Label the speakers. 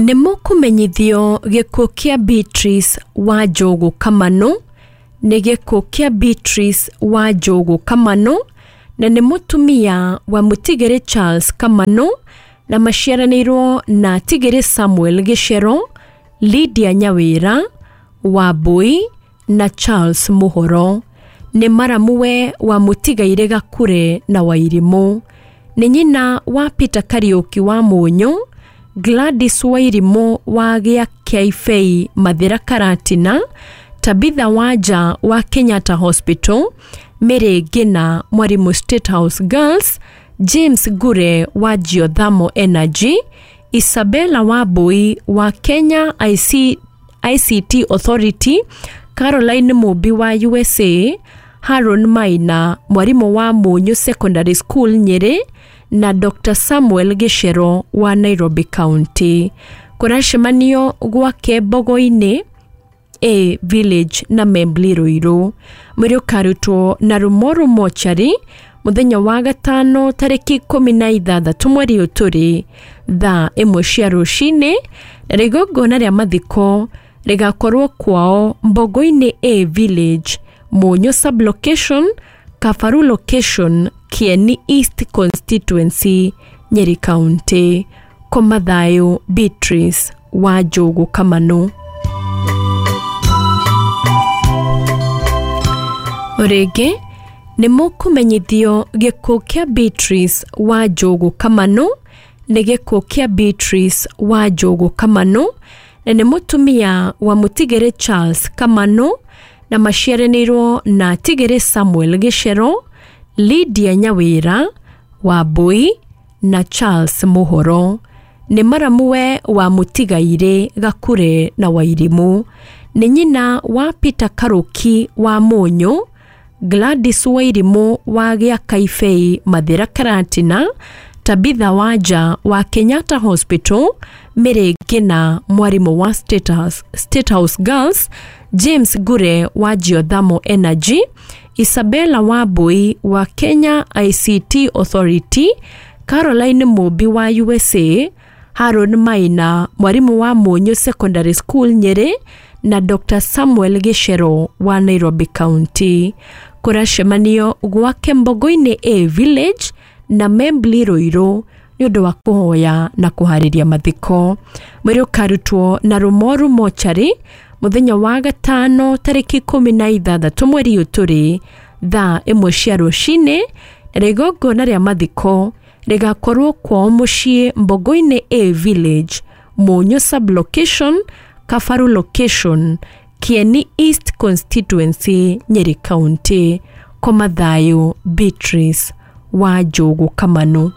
Speaker 1: Nĩ mũkũmenyithio gĩkuũ kĩa Beatrice Wanjũgũ Kamanũ. Nĩ gĩkuũ kĩa Beatrice Wanjũgũ Kamanũ, na nĩ mũtumia wa mũtigĩrĩ Charles Kamanũ, na maciaranĩirwo na Tigĩrĩ Samuel Gĩcero, Lydia Nyawĩra, Wambui na Charles Mũhoro. Nĩ maramuwe wa mũtigairĩ Gakure na Wairimũ. Nĩ nyina wa Peter Kariũki wa Mũnyũ, Gladys Wairimũ wa Gĩakĩaibei Mathĩra Karatina, Tabitha Wanja wa Kenyatta Hospital, Mary Ngina mwarimũ State House Girls, James Ngure wa Geothermal Energy, Isabella Wambui wa Kenya ICT Authority, Caroline Mũmbi wa USA, Haron Maina mwarimũ wa Mũnyũ Secondary School Nyĩrĩ, na Dr Samuel Gĩcero wa Nairobi County. Kũracemanio gwake Mbogo-inĩ A Village na Membli Ruiru. Mwĩrĩ ũkarutwo na Rumoru Mochari mũthenya wa gatano tarĩki 16 mweri ũyũ tũrĩ thaa 1 cia rũcinĩ, na igongona rĩa mathiko rĩgakorwo kwao Mbogo-inĩ A Village, Mũnyũ Sub-location, Kabaru Location, Kieni East Constituency, Nyeri County. Koma thayũ Beatrice Wanjũgũ Kamanũ. O rĩngĩ nĩ mũkũmenyithio gĩkuũ kĩa Beatrice Wanjũgũ Kamanũ. Nĩ gĩkuũ kĩa Beatrice Wanjũgũ Kamanũ, na nĩ mũtumia wa mũtigĩrĩ Charles Kamanũ, na maciaranĩirwo na Tigĩrĩ Samuel Gĩcero, Lydia Nyawĩra, Wambui na Charles Mũhoro. Nĩ maramuwe wa mũtigairĩ Gakure na Wairimũ. Nĩ nyina wa Peter Karũki wa Mũnyũ, Gladys Wairimũ wa Gĩakaibei Mathĩra Karatina, Tabitha Wanja wa Kenyatta Hospital, Mary Ngina mwarimũ wa State House Girls, James Ngure wa Geothermal Energy, Isabella Wambui wa Kenya ICT Authority, Caroline Mũmbi wa USA, Haron Maina mwarimũ wa Mũnyũ Secondary School Nyĩrĩ, na Dr Samuel Gĩcero wa Nairobi County. Kũracemanio gwake Mbogo-inĩ A Village na Membli Ruiru nĩ ũndũ wa kũhoya na kũharĩria mathiko. Mwĩrĩ ũkarutwo na Rumoru Mochari mũthenya wa gatano tarĩki 16 mweri ũyũ tũrĩ thaa 1 cia rũcinĩ, na igongona rĩa mathiko rĩgakorwo kwao mũciĩ Mbogo-inĩ A Village, Mũnyũ Sub-location, Kabaru Location, Kieni East Constituency, Nyeri County. Koma thayũ Beatrice Wanjũgũ Kamanũ.